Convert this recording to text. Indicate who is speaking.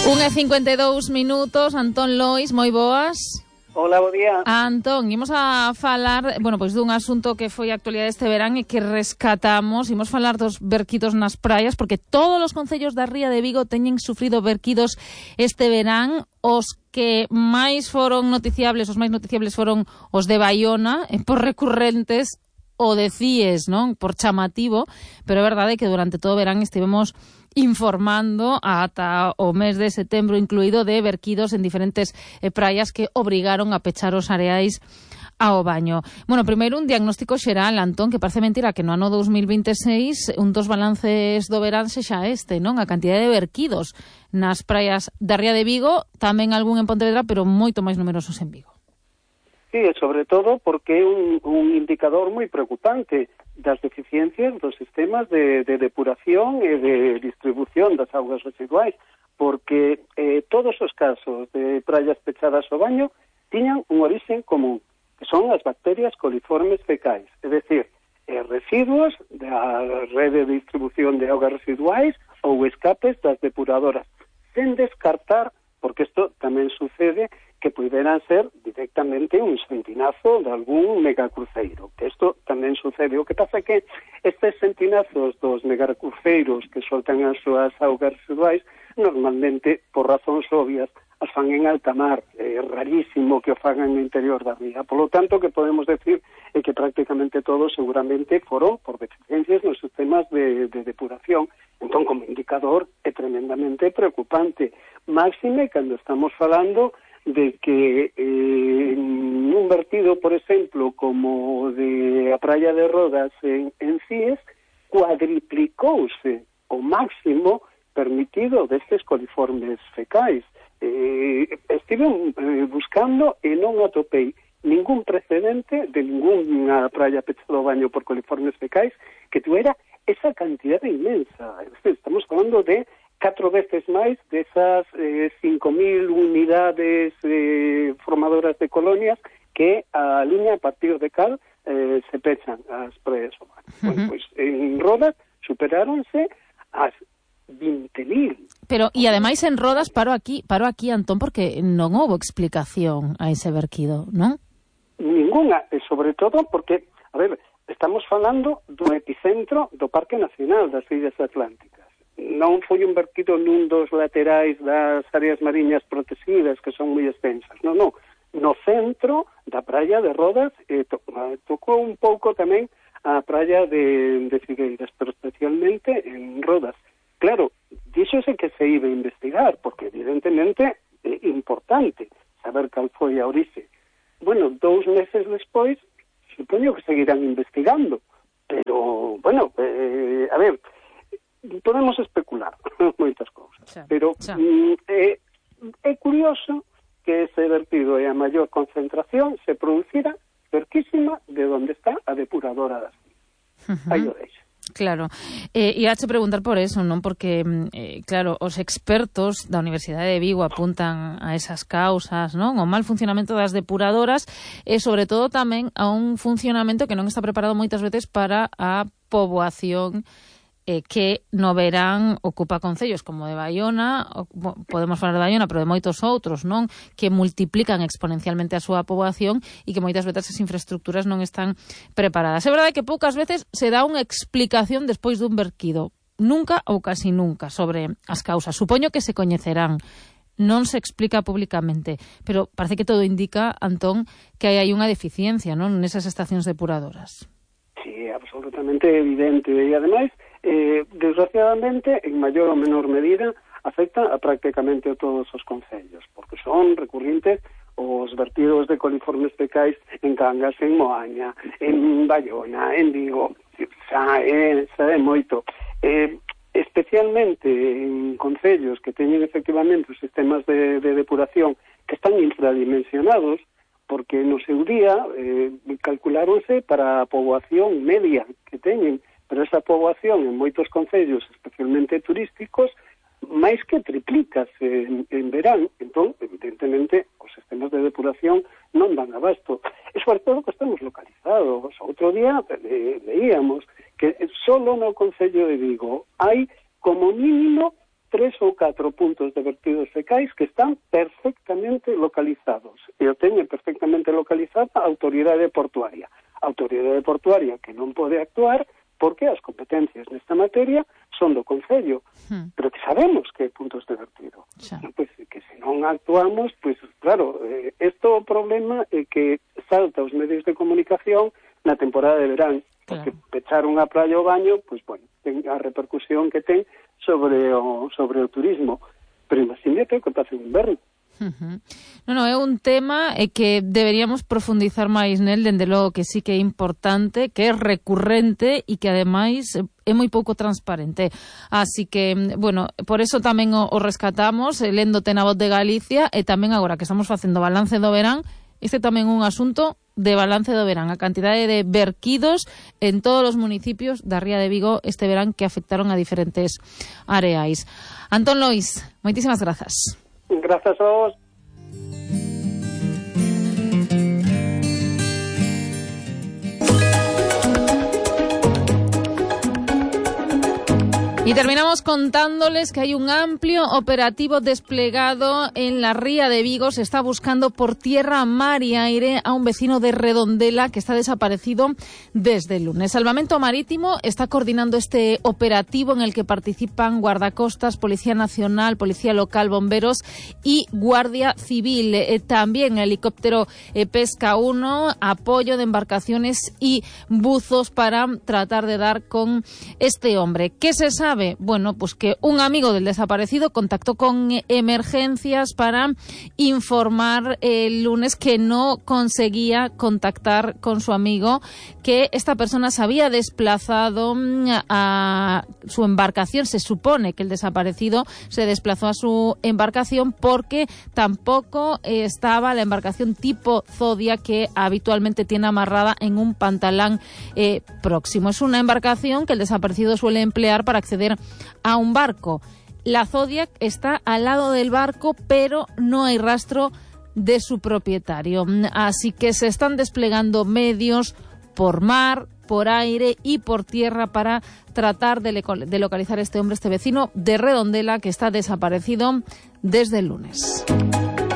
Speaker 1: 1:52, Antón Lois, moi boas.
Speaker 2: Hola, bo día.
Speaker 1: Antón, imos a falar, pois dun asunto que foi actualidade este verán e que rescatamos. Imos falar dos verquidos nas praias, porque todos os concellos da Ría de Vigo teñen sufrido verquidos este verán. Os que máis foron noticiables, os máis noticiables foron os de Baiona, por recurrentes, o de Cíes, non? Por chamativo, pero é verdade que durante todo o verán estivemos informando ata o mes de setembro incluído de verquidos en diferentes praias que obrigaron a pechar os areais ao baño. Bueno, primeiro un diagnóstico xeral, Antón, que parece mentira que no ano 2026 un dos balances do verán sexa este, non? A cantidade de verquidos nas praias da Ría de Vigo, tamén algún en Pontevedra, pero moito máis numerosos en Vigo.
Speaker 2: Sí, sobre todo porque é un indicador moi preocupante das deficiencias dos sistemas de depuración e de distribución das augas residuais, porque todos os casos de praias pechadas ao baño tiñan un origen común, que son as bacterias coliformes fecais, é dicir, residuos da rede de distribución de augas residuais ou escapes das depuradoras, sen descartar, porque isto tamén sucede, que puderan ser directamente un sentinazo de algún megacruceiro. Que isto tamén sucede. O que pasa é que estes sentinazos dos megacruceiros que soltan as súas augas residuais normalmente, por razóns obvias, as fan en alta mar. É rarísimo que o fagan no interior da ría. Por lo tanto, que podemos decir é que prácticamente todos seguramente foron por deficiencias nos sistemas de depuración. Entón, como indicador, é tremendamente preocupante. Máxime cando estamos falando de que un vertido, por exemplo, como de a praia de Rodas en Cíes, cuadriplicouse o máximo permitido destes coliformes fecais. Estive buscando e non atopei ningún precedente de ninguna praia pechada ao baño por coliformes fecais que tuviera esa cantidad inmensa. Estamos falando de 4 veces máis desas 5.000 unidades formadoras de colonias que a liña a partir de cal se pechan as praias ao baño. Bueno, pois en Rodas superáronse as 20.000.
Speaker 1: Pero, e ademais en Rodas, paro aquí, Antón, porque non houbo explicación a ese verquido, non?
Speaker 2: Ninguna, e sobre todo porque, a ver, estamos falando do epicentro do Parque Nacional das Illas Atlánticas. Non foi un verquido nun dos laterais das áreas mariñas protegidas que son moi extensas, non. No centro da praia de Rodas tocou un pouco tamén a praia de Figueiras, pero especialmente en Rodas. Claro, díxose que se iba a investigar, porque evidentemente é importante saber cal foi a orixe. Bueno, 2 meses despois, supoño que seguirán investigando, pero, bueno, a ver, podemos especular moitas cousas, pero é curioso que ese vertido e a maior concentración se producira cerquísima de onde está a depuradora das Cíes. Aí o deixo.
Speaker 1: Claro, e hache preguntar por eso, non? Porque, claro, os expertos da Universidade de Vigo apuntan a esas causas, non? O mal funcionamento das depuradoras e, sobre todo, tamén a un funcionamento que non está preparado moitas veces para a poboación que no verán ocupa concellos como de Baiona, podemos falar de Baiona, pero de moitos outros, non? Que multiplican exponencialmente a súa poboación e que moitas veces as infraestructuras non están preparadas. É verdade que poucas veces se dá unha explicación despois dun verquido. Nunca ou casi nunca sobre as causas. Supoño que se coñecerán. Non se explica públicamente, pero parece que todo indica, Antón, que hai unha deficiencia, non? Nesas estacións depuradoras.
Speaker 2: Sí, absolutamente evidente. E, ademais, desgraciadamente, en maior ou menor medida, afecta a prácticamente a todos os concellos, porque son recurrentes os vertidos de coliformes fecais en Cangas, en Moaña, en Baiona, en Vigo, xa é moito. Especialmente en concellos que teñen efectivamente os sistemas de depuración que están infradimensionados, porque no seu día calculáronse para a poboación media que teñen, pero esa poboación en moitos concellos, especialmente turísticos, máis que triplicase en verán. Entón, evidentemente, os sistemas de depuración non dan abasto. E sobre todo que estamos localizados. Outro día veíamos que solo no Concello de Vigo hai como mínimo 3 ou 4 puntos de vertidos fecais que están perfectamente localizados. E o teñen perfectamente localizada a autoridade portuaria. A autoridade portuaria que non pode actuar porque as competencias nesta materia son do Concello, pero que sabemos que hai puntos de vertido. Pues, que se non actuamos, pues claro, isto o problema é que salta os medios de comunicación na temporada de verán, porque pechar unha praia ou baño, pues bueno, ten a repercusión que ten sobre o turismo, pero imagínate o que pasa en inverno.
Speaker 1: Non, é un tema que deberíamos profundizar máis nel, dende logo que sí que é importante, que é recurrente e que ademais é moi pouco transparente. Así que, bueno, por eso tamén o rescatamos, léndote na Voz de Galicia, e tamén agora que estamos facendo balance do verán, este tamén é un asunto de balance do verán, a cantidade de verquidos en todos os municipios da Ría de Vigo este verán que afectaron a diferentes areais. Antón Lois, moitísimas grazas.
Speaker 2: Grazas a vos.
Speaker 1: Y terminamos contándoles que hay un amplio operativo desplegado en la Ría de Vigo. Se está buscando por tierra, mar y aire a un vecino de Redondela que está desaparecido desde el lunes. Salvamento Marítimo está coordinando este operativo en el que participan guardacostas, Policía Nacional, Policía Local, bomberos y Guardia Civil. También helicóptero Pesca 1, apoyo de embarcaciones y buzos para tratar de dar con este hombre. ¿Qué se sabe? Bueno, pues que un amigo del desaparecido contactó con emergencias para informar el lunes que no conseguía contactar con su amigo, que esta persona se había desplazado a su embarcación. Se supone que el desaparecido se desplazó a su embarcación porque tampoco estaba la embarcación tipo Zodia que habitualmente tiene amarrada en un pantalán próximo. Es una embarcación que el desaparecido suele emplear para acceder a un barco. La Zodiac está al lado del barco, pero no hay rastro de su propietario. Así que se están desplegando medios por mar, por aire y por tierra para tratar de localizar a este hombre, este vecino de Redondela que está desaparecido desde el lunes.